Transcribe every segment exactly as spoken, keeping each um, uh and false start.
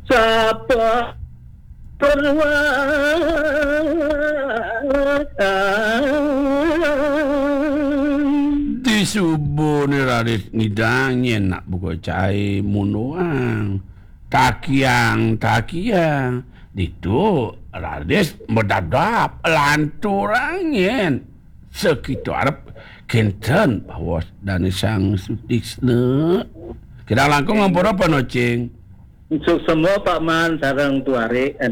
Sapa perwang. Di subuhne raris ngidang nyen nak buka cai munduang. Takiang, takiang. Ditu raris medadap lanturang nyen. Sakitu arep kenten baos dane Sang Sutisna. Kidang langkung ngampura panocing. Suksma Pak Man sareng Tuari, eh,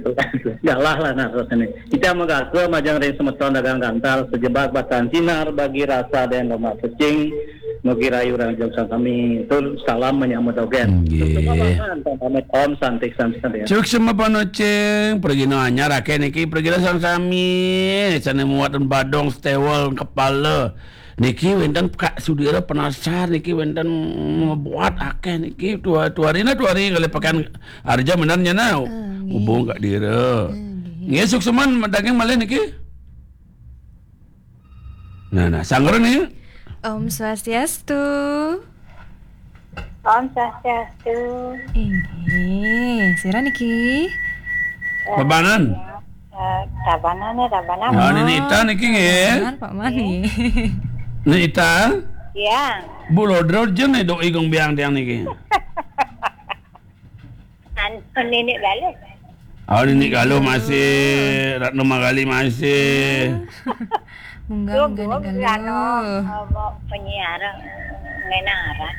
galah lah nah rasane. Kita magaka majeng ring semeton dagang gantal, sejebak batan sinar bagi rasa dan lemak cecing, mugi rahayu ring jeng sami. Tur salam menyambut dogen. Nggih. Suksma Pak Man, pamit Om Santi Santi Santi. Suksma panocing, pragina anyar akeh niki, pragina sami-sami, sane muat badong, stewel, kepala. Niki wenten Kak Sudira penasar niki wenten ngebuat akeh niki tua-, tuarina tuari ngalih pekan arja menan nyana. Ah, nggih. Hubung Kak Dira. Ah, nggih. Nggih, suksman daging malih niki. Nah, nah, sanggra nih. Om Swastiastu. Om Swastiastu. Inggih, sira niki? Bebanan. Eh, Tabanan ya, Tabanan. Nah, ini Ita niki nggih. Bebanan, Pak Man nggih. Ini Ita. Iya. Bu Lodro jen nih dok igung biang tiang niki. Anu, Nenek Galuh. Oh, Nenek Galuh masih, Ratno Magali masih. Munggah, munggah, Nenek Galuh. Anu, eh, mau penyiar, ngenara.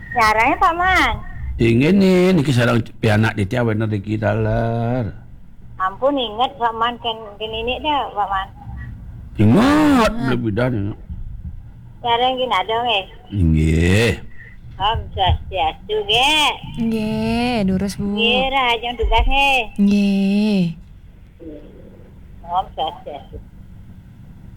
Siarane Pak Man. Inggih nih, niki sareng pianak Ditya wénten niki taler. Ampun, inget Pak Man, kan gini nih dah, Pak Man. Inget, lebih dah inget. Sareng gini ada nggih. Inggih. Om Swastiastu, nggih. Nggih, durus, Bu. Nggih, rahajeng tugas, nggih. Nggih. Om Swastiastu.